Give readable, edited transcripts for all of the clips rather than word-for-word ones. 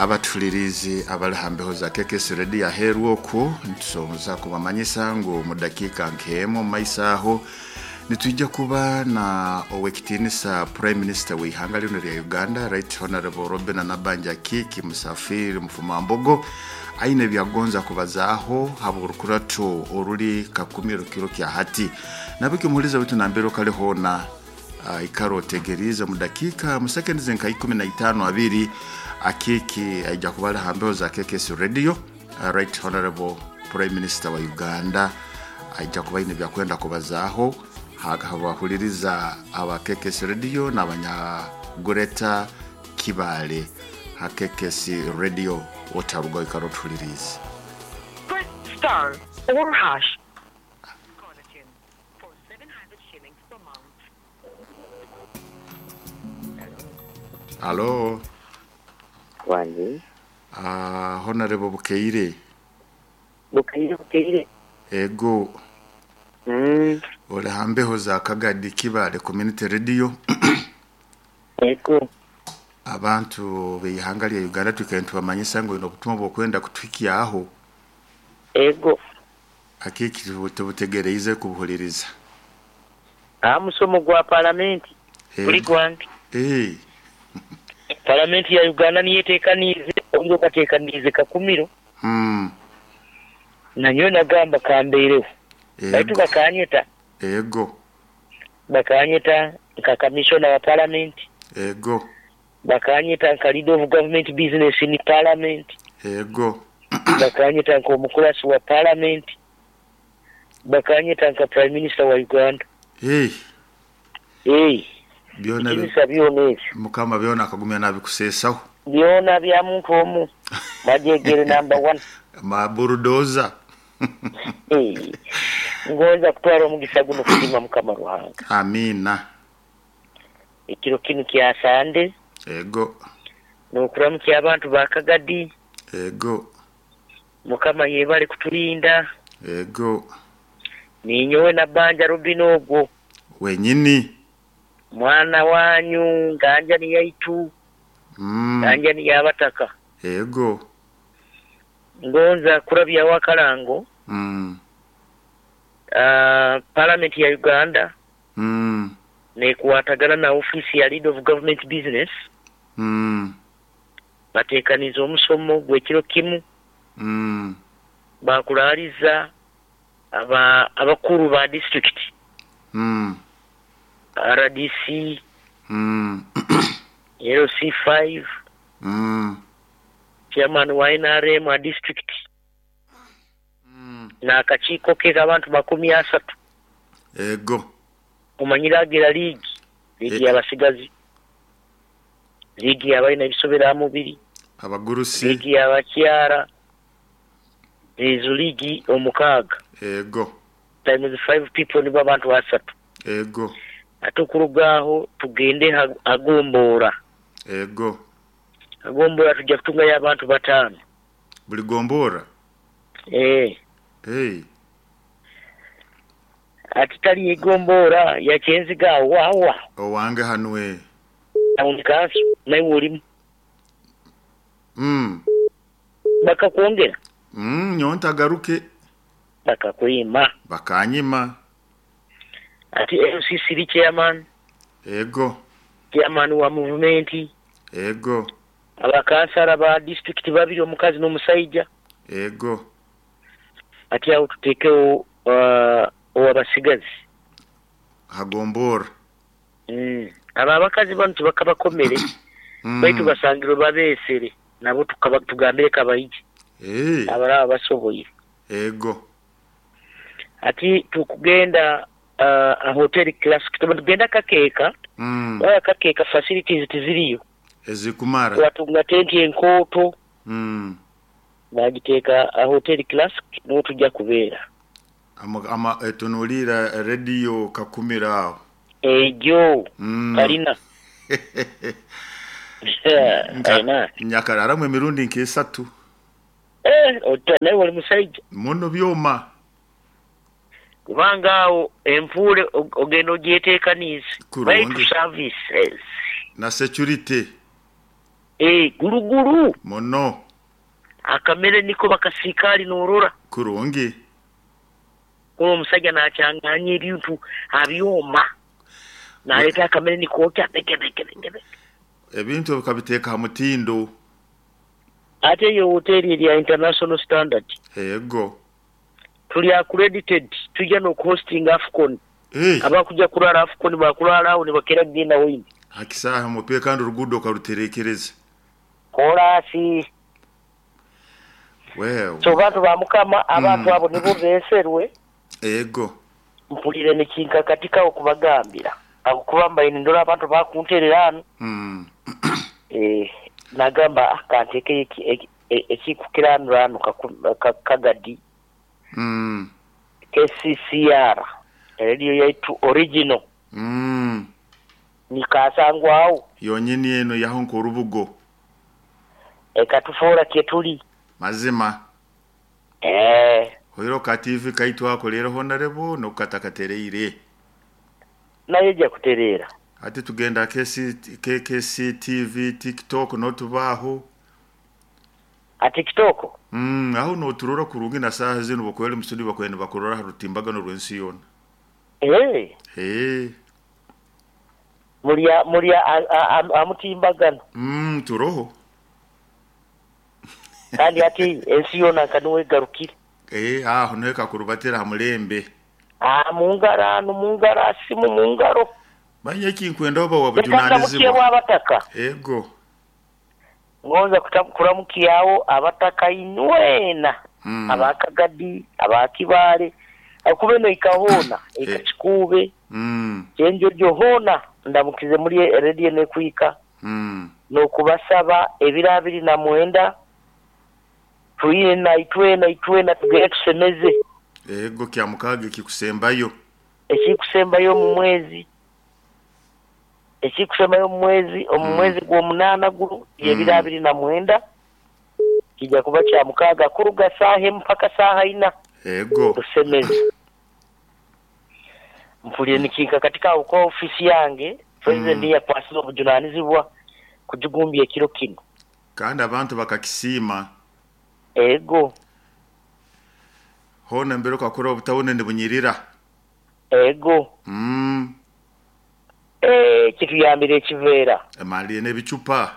Abatuhulirizi abali ha mbeho za KKS Radio aheeru okwo, nitusoboza kubamanyisa ngu mu dakiika nk'emu omu maiso aho nitwija kuba na ow'ekitiinisa Prime Minister w'ihanga linu lya Uganda, Right Honorable Robinah Nabbanja Kiki Musafiri Mufumambogo, aine ebyagonza kubazaaho habw'orukurato oruli Kakumiro kiro kya hati. Nabiki omuhuliza waitu nambere okali hoona, ikara otegeriize omu dakiika mu seconds nka 15 abiri Akiiki aija kuba ali ha mbeho za KKS Radio. Right Honorable Prime Minister wa Uganda aija kuba aine ebyakwenda kubazaaho habahuliriza aba KKS Radio n'abanya Greater Kibaale ha KKS Radio. Otarugaho, ikara otuhuliriize. Press star or hash. Halo. Wange. Honorable Bukeire. Bukeire, Bukeire. Ego. Oli ha mbeho za Kagadi Kibaale Community Radio. Ego. Abantu b'ihanga lya Uganda twikaire nitubamanyisa ngu oine obutumwa obw'okwenda kutuhikyaho. Ego. Akiiki tubutegereize kubuhuliriza. Aha musomo gwa palamenti guli gwange. Palamenti ya Uganda niyo eteekaniize, obwire okateekaniize Kakumiro. Nanyowe nagamba kambeireho. Baitu bakanyeta. Ego. Bakanyeta nka commissioner wa palamenti. Ego. Bakanyeta nka leader of government business in parliament. Ego. Bakanyeta nka omukurasi wa parliament. Bakanyeta nka prime minister wa Uganda. Hey. Hey. Byona Ekinisa byona ebyo. Mukama byona akagumya nabikuseesaho. Byona bya muntu omu. Majegere number 1. Ma bulldozer. Hey. Ngonza kutwara omugisa guno kusiima Mukama Ruhanga. Amina. Ekiro kinu kya Sande. Ego. N'okuramukya abantu ba Kagadi. Ego. Mukama yebale kutulinda. Ego. Ninyowe na Banja Robin ogwo. Wenyini. Mwana wanyu nganja ni yaitu. Nganja ni yabataka. Ego. Ngonza kurabya wakalango. Parliament ya Uganda. Nekuwatagana na office ya leader of government business. Batekaniza omusomo gw'ekiro kimu. Bakulaliza abakuru ba district. RDC. LC5. Chairman wa NRM wa district. Na akakiiko ke k'abantu 30. Ego. Omanyiragira liigi, liigi y'abasigazi, liigi y'abalina ebisobera mubiri, abagurusi, liigi y'abakyala, ezo liigi 6. Ego. Times 5 people nibo abantu 3. Ego. Ate okuruga aho tugende agomboora. Ego. Agomboora tujja kutungayo abantu 5. Buli gomboora? Eh. Hey. Ati tali egomboora ya Kyenziga awo. Owange hanwe. Town council naye olimu. Bakakwongera. Nyonta agaruke. Bakakwima. Bakanyima. Ati LCC chairman. Ego. Chairman wa movement. Ego. Abakansala ba district 2, omukazi n'omusajja. Ego. Ati awo tuteekewo owabasigazi. Hagombora. Aba abakazi bano tubakabakomere. Baitu basangirwe babeesere nabo tugambire kabayije. Abalaba basoboye. Ego. Ati tukugenda a hotel classic tugenda kakeeka. Waya kakeeka facilities tiziriyo. Ezikumara. Watunga tenti enkooto. Bagiteeka a hotel classic n'otujja kubeera. Ama etunulira radio Kakumira aho. Ejo. Kalina. Kalina. Nyakararamu emirundi nk'esatu. Naye oli musajja. Muno byoma. Kubanga awo enfuule ogenda ogyeteekaniza. Kurungi. Baitu services. Na security. Eh, gulugulu Muno. Akamere niko bakasiikaali noorora. Kurungi. Kuba omusajja nakyanganya ebintu abyoma naleeta akamere nikookya beke beke beke beke. Ebintu bikabiteeka ha mutindo. Ate eyo hoteeri erya international standard. Ego. Tuli accredited, tujja n'okuhostinga AFCON. Hey. Abakujja kurara AFCON bakurara awo nibakeera kugenda waini. Hakisaaha mupiira kandi oruguudo okaruterekereza. Koraasi. Wewe. So bantu ba Mukama, abantu abo nibo beeserwe. Ego. Mpulire nikinkakatikaho kubagambira. Ahabw'okuba mbaire nindora abantu bakunterera hanu. Eh, nagamba kanteekeyo ekikukiranura hanu kagadi. KCCR radio yaitu original. Nikasangwaho. Yonyini eno yaho nk'orubugo. Ekatufoora kyetuli. Mazima. Eh. Hoiro ka TV kaitu ako rero honarebo nokatakatereire. Naye ejja kutereera. Ati tugenda KKC TV, TikTok notubaho. A TikTok? Aho noturora kurungi na saha zino bakwele musudi bakwenda bakurora rutimbagano rwensi yona. Eh. Eh. Mulya mulya amutimbagano. Turoho. Kandi ati ensi yona kanuwe garukire. Eh, aho neka kurubatira hamulembe. Ah, mungara no mungara simu mungaro. Manye kinkwenda oba wabujunanizibwa. Abataka. Ego. Ngonza kuramukiyawo abataka inwena. Abakagadi, abakibale, akube no ikahona, ikachikube. Chenjo hona ndamukize muri radio nekuika. No kubasaba ebira 29 tuina itwena itwena tugere tusemeze. Ego kya mukage kikusembayo. Ekikusembayo mu mwezi. Ekikusembayo mu mwezi, omu mwezi gw'omunaana guno ebira 29 kijja kuba kya mukaga kuruga saaha mpaka saaha 4. Ego. Tusemeze. Mpulire nikinka katika uko ofisi yange, president yakwasiza obujunanizibwa kujugumbya ekiro kino. Kandi abantu bakakisima. Ego. Hona mbere kakora obutabone ndibunyirira. Ego. Eh, kituyambire ekiveera. Emali n'ebicupa.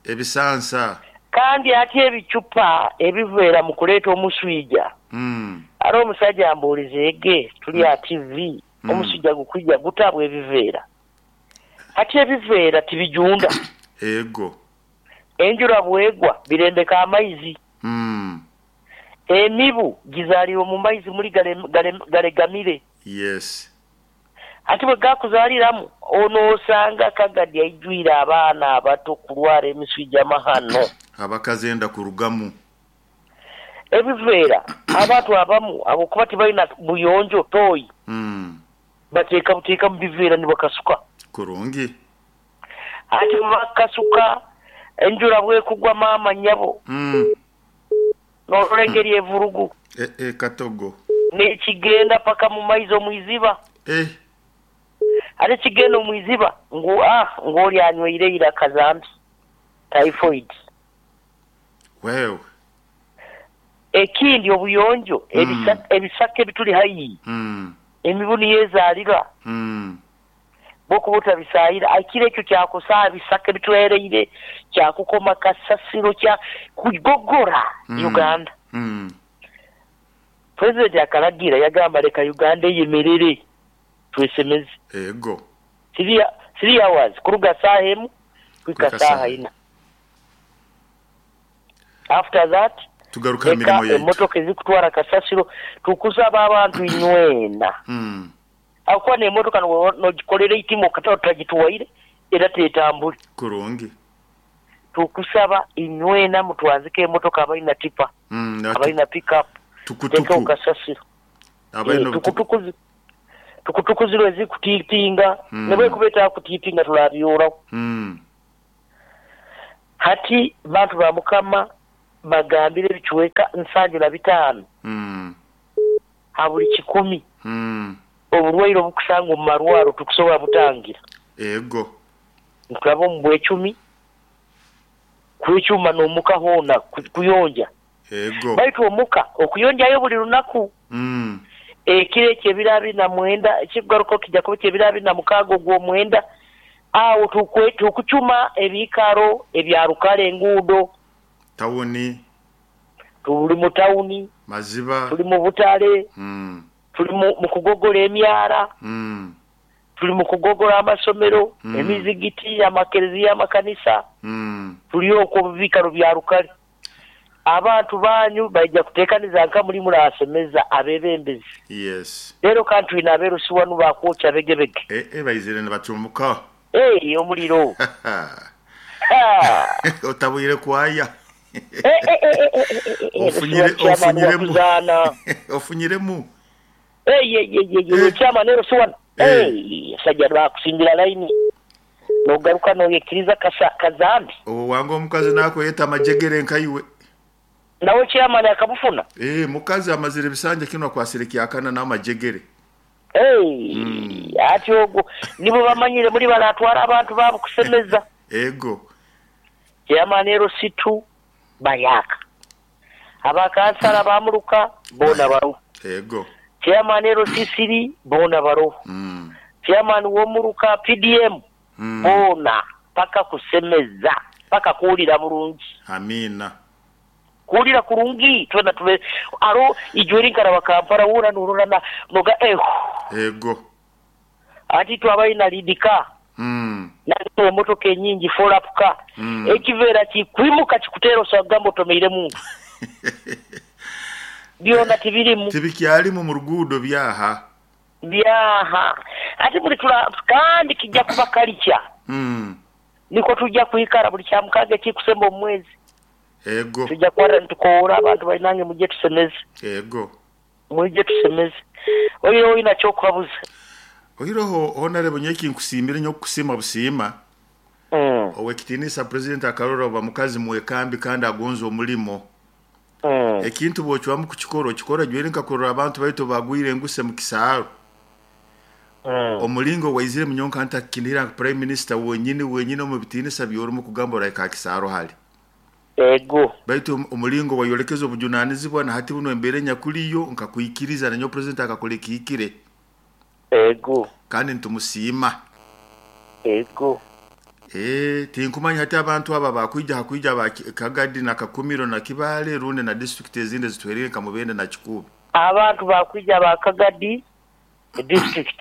Ebisansa. Kandi ati ebicupa ebiveera mu kuleeta omuswija. Ari omusajja ambuuliza ege tuli a TV omuswija gukwijja gutabwa ebiveera. Ati ebiveera tibijunda. Ego. Enjura bwegwa birembeka amaizi. Emibu gizaliwe mu maizi muri galegamire. Yes. Ati bwe gakuzaliramu onoosanga kagadi aijwire abaana abato kulwala emiswija mahano. Abakazenda kurugamu. Ebiveera abantu abamu abo kuba tibalina buyonjo toyi. Bateeka buteeka mu biveera ne bakasuka. Kurungi. Ati bakasuka enjura bwekugwa maama nnyabo. N'olengeri evurugu. Katogo. Nekigenda paka mu maizi omwiziba. Ate kigenda omwiziba ngu ng'oli anyweire ira kazambi. Typhoid. Wewe. Ekindi obuyonjo ebisaka ebituli hayi. Emibu niyezaalira. Bokubuta bisaayira akire ekyo kyakusaa bisaka ebituwereire kyakukoma kasasiro kya kugogora Uganda. President akalagira yagamba leka Uganda eyemerere twesemeze. Ego. 3 hours kuruga saa 1 kuika saa 4. After that tugaruka mirimo yetu. Emotoka ezikutwara kasasiro tukusaba abantu inywena. Akuwa n'emotoka nogikolera itimo kata otagituwaire era tetambule. Kurungi. Tukusaba inywena mutwanzike emotoka abalina tipa. Abalina pick up. Tukutuku. Kasasiro. Abalina tukutuku. Tukutuku ziro ezikutiitinga. Ne bwe kubeeta kutiitinga tulabyorawo. Hati bantu ba Mukama bagambire ebicuweka 75. Ha buli 100. Obulwaire obukusanga omu marwaro tukusobola butangira. Ego. Nkulaba omu bwecumi, Kwecuma n'omuka hoona kuyonja. Ego. Baitu omuka okuyonjayo buli lunaku. Ekiro ekyo ebiro 29, ekikugaruka kijja kuba kyebiro 26 ogw'omwenda, awo tukucuma ebiikaro ebya rukale enguudo. Tawuni. Tuli mu tawuni. Maziba. Tuli mu butale. Tuli mu kugogola emyara. Tuli mu kugogola amasomero, emizigiti, amakereziya, amakanisa. Tuli okwo mu biikaro bya rukale. Abantu banyu baija kuteekaniza nka muli murasemeza abebembezi. Yes. Leero kandi twine abeerusi wanu bakwokya begebege. Baizire nibacumuka. Omuliro. Otabwire kwaya. Ofunyiremu. Ofunyiremu. Chairman ero siwano. Sajja bakusimbira line. Nogaruka noyekiriza kazambi. Owo wange omukazi nakweta amajegere nkaiwe. Nawe chairman akabufuna. Mukazi amazire ebisanja kino akwasire kyakana n'amajegere. Ati ogwo nibo bamanyire muri baratwara abantu babo kusemeza. Ego. Chairman ero situ bayaka. Abakansala bamuruka bona baru. Ego. Chairman ero sisiri bona baru. Chairman womuruka PDM bona paka kusemeza paka kuwulira bulungi. Amina. Kuwulira kurungi twena tube aro ijweri nkara Kampala wura nurora na noga eho. Ego. Ati twabaina lidika. Na emotoka enyingi follow up ka. Ekivera kikwimuka kikutero sagambo tomeire mu. Byona tibirimu. Tibikyalimu mu rugudo byaha. Byaha. Ati buli tula kandi kijja kuba kalicha. Niko tujja kuikara buli kyamukaga kikusemba omwezi. Ego. Tujja kwara ntukowora abantu balinange mujje tusemeze. Ego. Mujje tusemeze. Oyo oyina kyokubabuza. Oyiroho honorable nyeki nkusiimire nyo kusima busiima. Owekitinisa president akarora oba mukazi mwekambi kandi agonza omulimo. Ekintu bwochwamu kukikora okikora jwere nkakorora abantu baitu bagwire enguse mu kisaaro. Omulingo waizire munyonka ntakinira prime minister wenyini wenyini omu bitinisa byorumu kugamba oraika kisaaro hali. Ego. Baitu omulingo wayolekeza obujunanizibwa na hati buno embere nyakuliyo nkakuikiriza nanyo president akakole kiikire. Ego. Kandi ntumusiima. Ego. Tinkumanya hati abantu aba bakwija hakwija ba Kagadi na Kakumiro na Kibale runde na district ezindi zitwerere nka Mubende na Kikuube. Abantu bakwija ba Kagadi district.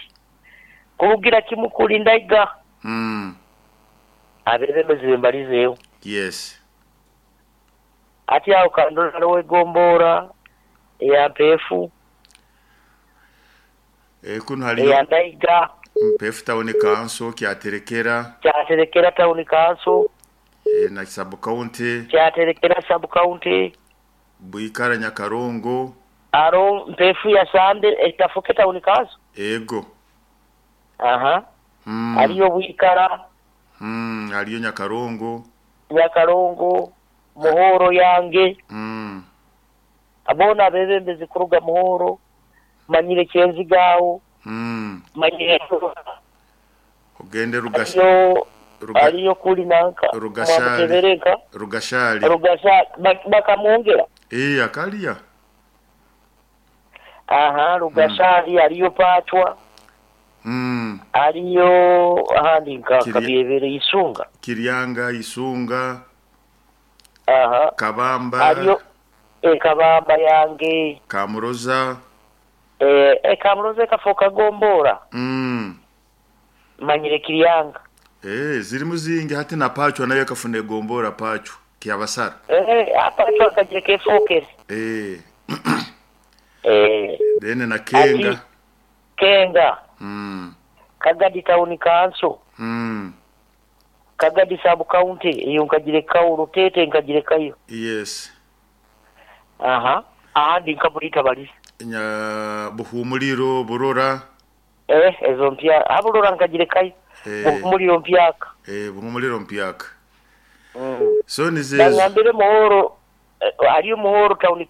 Kurugira kimu kulinda iga. Abebembezi mbalizeyo. Yes. Ati awo kandora wegombora ya pefu. Kuno haliyo ya Ndaiga. Mpefu town council kyaterekera. Kyaterekera town council. Na sub county. Kyaterekera sub county. Buikara Nyakarongo. Aro mpefu ya Sande etafuke town council. Ego. Aha. Aliyo Buikara. Aliyo Nyakarongo. Nyakarongo. Muhoro yange. Abona abebembezi kuruga Muhoro. Manyire Kyenzigawo. Manyire ogende aliyo kuli nanka Rugashali. Rugashali. Rugashali bakamwongera. Akalia. Aha, Rugashali aliyo Pachwa. Aliyo ahandi nka Kabyebere Isunga. Kiryanga Isunga. Aha. Kabamba. Aliyo Kabamba yange. Kamuroza. Kamuroza kafoka gombora. Manyire Kiryanga. Ziri muzingi hati na Pachwa nayo kafune gombora Pachwa kyabasara. Pachwa kajire kefokere. Dene na Kenga. Ati, Kenga. Kagadi town council. Kagadi sub county iyo nkajire kawo Rutete nkajire kayo. Yes. Aha. Ahandi nkabulita bali. Nya Buhumuliro Burora. Ezo mpya aburora nkajire kayo. Buhumuliro mpyaka. Buhumuliro mpyaka. So nize ngambire Muhoro aliyo Muhoro town.